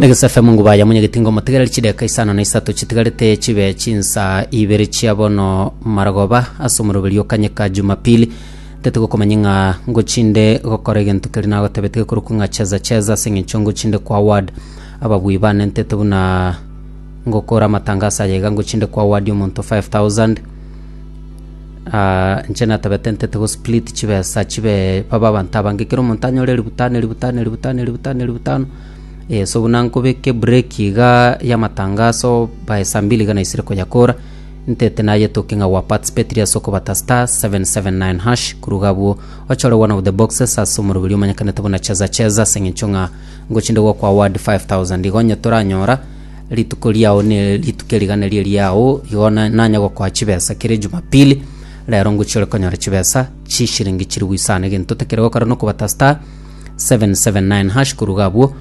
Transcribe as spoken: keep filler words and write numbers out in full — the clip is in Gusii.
Negesa F M nguba ya munyegetingo motegereri chideka isano na isato chitigarete chibe chinsa ibere chia bono marogoba ase omoroberi okanyeka Jumapili. Ntete gokomanya ng'a ngochinde gokora egento keri nagotebete gekorokwa ng'a cheza cheza ase eng'encho ngochinde kwa award ababui bane ntete buna ngokora amatangazo aya iga ngochinde kwa award omonto five thousand. Ah, inche natabete ntete go split chibesa chibe babe abanto abange kera omonto anyore elifu tano, elifu tano, elifu tano, elifu tano, elifu tano. Eh, so buna nkobeka ebreak iga ya amatangazo by saa mbili iga naisire koyakora ntete nayetoke ng'a waparticipatire ase okobata star seven seven nine hash kuruga abwo ochore one of the boxes ase omoroberi omanyekanete buna cheza cheza ase eng'encho ng'a ngochinde gokwa award five thousand. Igo onye toranyora rituko riao ne rituko erigana rie riao igo na- nanya gokoa chibesa kere Jumapili rero ngochi ore konyora chibesa chishiringi chiri goisana egento tekere gokora nokobata star seven seven nine hash kuruga abwo.